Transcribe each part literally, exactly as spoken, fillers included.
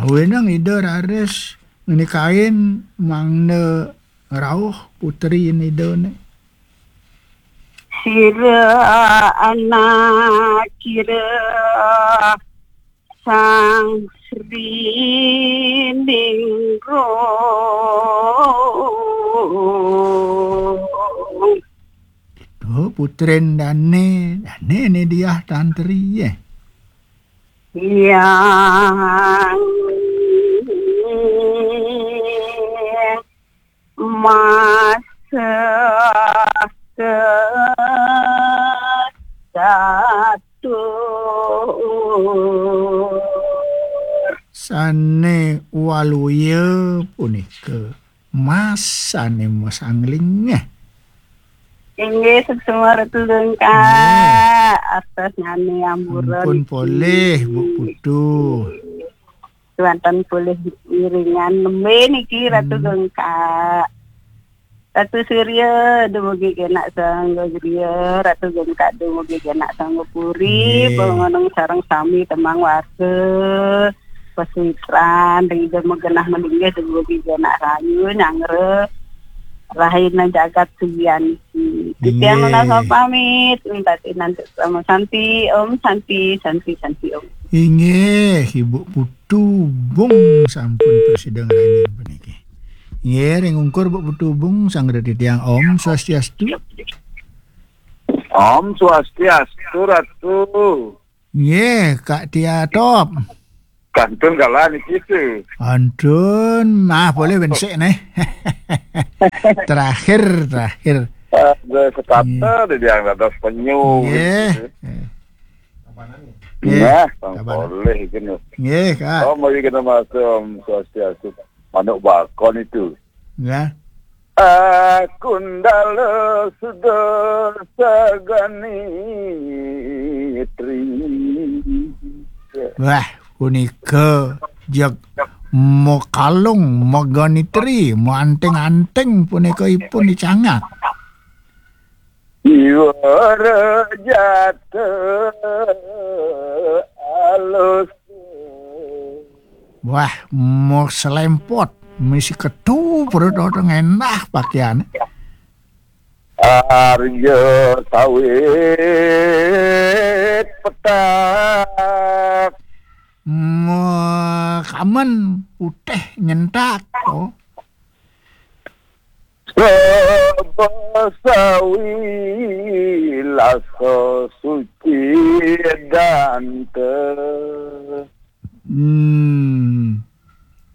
Awenang Ida raris ngenikain mangda rauh putrin Idane. Sira anak kira Sang Sri Ningrum. Itu putrin dane, dane ne Diah Tantri, eh. Yang masa kedatur. Sane waluya punika mas sane masangling. Inggih, suksma Ratu Gengkak. Nggih. Atas nyane ampura. Ampun niki. Polih, Bu Putu. Tuanten polih iringan nembe niki, Ratu. Hmm. Gengkak. Ratu Surya, dumugi kenak sangga griya. Ratu Gengkak, dumugi kenak sangga puri. Nggih. Bangunung sareng sami temang warga. Pesuitran, ring Ida magenah malinggih, dumugi kenak rayu, nyanggra. Rahina jagat sugianti. Titiang. Nggih. Nunas pamit, minta tinantu sama santi, Om Santi, Santi, Santi, Om. Inggih, Ibu Putu Bung sampun prasida ngranjing puniki. Inggih, ring ungkur Bu Putu Bung, sanggra titiang Om Swastiastu. Om Swastiastu, Ratu. Nggih, Kak Tia Top. Kantun kalah niki tu. Antun, nah, boleh bensik nih. Terakhir, terakhir. Ada sekata. Nggih. Di yang dados penyu. Nggih. Gitu. Nggih. Nah, kabar. Boleh kena. Nggih, Kak. Oh, mari kena masuk, Om Swastiastu. Manuk bakon itu. Ya. Akundala suda sagani tri. Wah, punika jeg makalung, maganitri, maanting-anting punika ipun dicangak. Iwara jata alus. Wah, mau selempot, misi ketu perut orang endah pakaian. Arya sawit petak. Mau kamen putih nyentak. Oh. Saba sawi lasa suci danta. Hmm.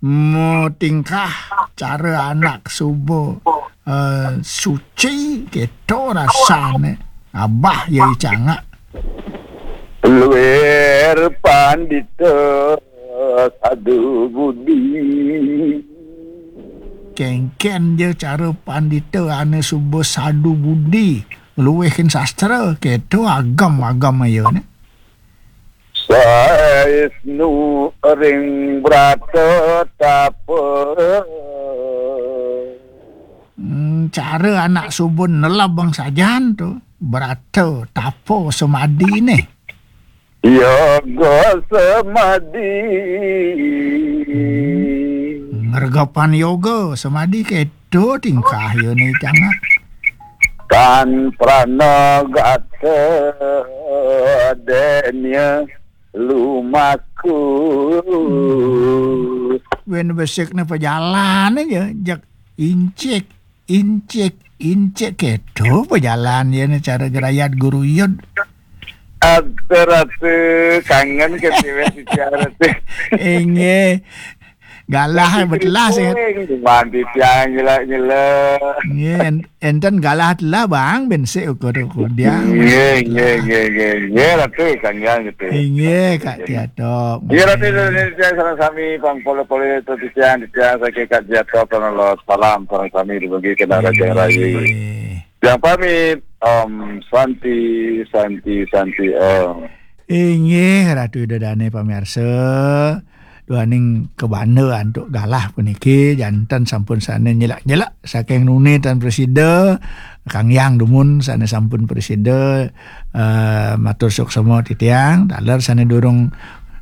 Mo tingkah cara anak suba, eh, suci, keto rasane. Abah ya icangak. Luwir pandita sadu budi. Kengken ja cara pandita ane suba sadu budi, luwihin sastra, keto agam-agam ayane. Saisnu ring brata tapa. Hmm, cara anak suba nelebang sajan tu, brata tapa samadine. Yoga samadi. Ngregepan yoga samadi keto tingkah yone cangak. Tan pranagata denya lumaku. Wen besikne pajalan aja, jak incik, incik, incik keto pajalan yene cara gerayat guruyud. Atur atu kangen ke tiwek bicara tu. Inggih. Galah betelah sih. Mandi tiang nyela-nyela. Nggih, en-, enten galah telah, Bang, ben sik ukur-ukur dia. Nggih, nggih, nggih, nggih. Nggih, Ratu, kangen gitu. Inggih, Kak Tiatok. Nggih, Ratu, Indonesia sareng sami, pang pole-pole, titiang, titiang, saking Kak Tiatok, salam sareng sami, dumugi kena Raja Rayu. Nggih. Yang pamit, Om Santi, Santi, Santi, Om. Inggih, Ratu Ida Dane pamirsa. Duaning kabanda antuk galah puniki, janten sampun sane nyelak-nyelak saking nuni tan prasida, Kang Yang dumun sane sampun prasida, eh, matur suksma titiang, taler sane durung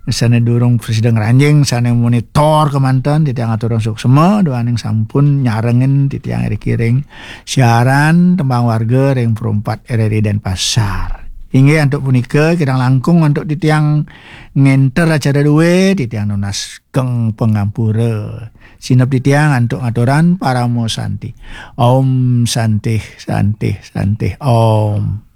Sane durung prasida ngranjing, sane monitor kemanten, titiang aturang suksma, duaning sampun nyarengin titiang iriki ring siaran Tembang Warga ring Pro empat R R I Denpasar. Inggih, antuk punika kirang langkung antuk titiang ngenter acara duwe, titiang nunas geng pangampura. Sineb titiang antuk ngaturan parama santi. Om Santih, Santih, Santih, Om.